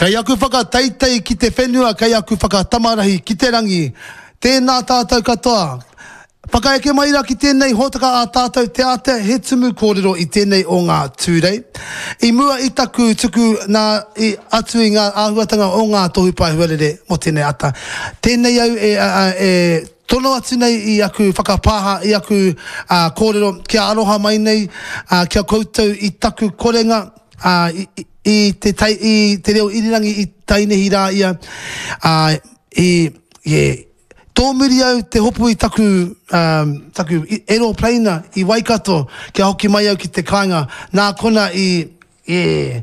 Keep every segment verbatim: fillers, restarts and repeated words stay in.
Kei aku whakateitei ki te whenua, kei aku whakatamarahi ki te rangi. Tēnā tātou katoa. Whakaeke mai rā ki tēnei hōtaka a tātou te ātea he tumu kōrero i tēnei o ngā Tūrei. I mua i taku tuku nā i atu i ngā āhuatanga o ngā tohu pae huarere mō tēnei ata. Tēnei au e, e, e tono atu nei i aku whakapāha, i aku uh, kōrero kia aroha mai nei, uh, kia koutou i taku korenga, uh, i, i, te, tai, i te reo irirangi i tainihi rā ia, uh, i, yeah, Tōmuri au te hopu i taku, um, taku aeroplane i Waikato kia hoki mai au ki te kāinga. Nā kona i, yeah,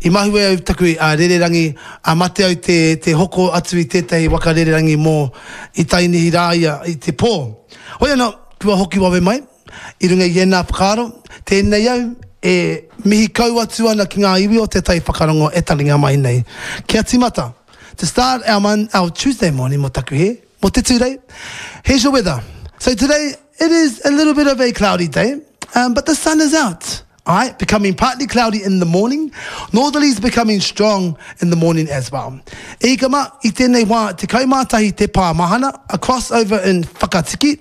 i mahue au taku uh, rererangi, a mate au te, te hoko atu i tētahi waka rererangi mō i tainihi rā ia i te pō. Hoi anō, kua hoki wawe mai, i runga i ēnā whakaaro, tēnei au e mihi kau atu ana ki ngā iwi o te tai whakarongo e taringa mai nei. Kia timata, to start our, mon our Tuesday morning mō taku he, mō te Tūrei, here's your weather. So today, it is a little bit of a cloudy day, um, but the sun is out. All right, becoming partly cloudy in the morning. Northerlies becoming strong in the morning as well. E kama, i tēnei wā, te kaumātahi te pā mahana, across over in Whakatiki,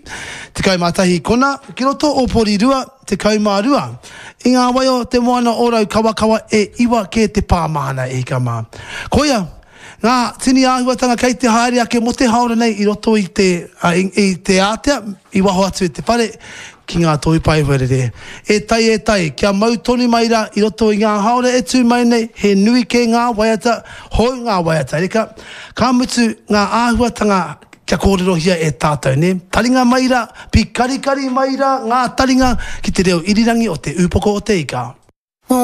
te kaumātahi kona, ki roto o Porirua, te kaumārua. I ngā waio te moana o Raukawa e iwa ke te pā mahana e kama. Koia, ngā tini āhuatanga kei te haere ake mo te haora nei i roto i te, uh, i, i te ātea, i waho atu i te whare, ki ngā tohu pae huarere. E tai, e tai, kia mau tonu mai rā i roto i ngā haora e tū mai nei, he nui ke ngā waiata, hou ngā waiata reka, ka mutu ngā āhuatanga kia kōrerohia e tātou, ne? Taringa mai rā, pikarikari mai rā ngā taringa ki te reo irirangi o te upoko o te ika.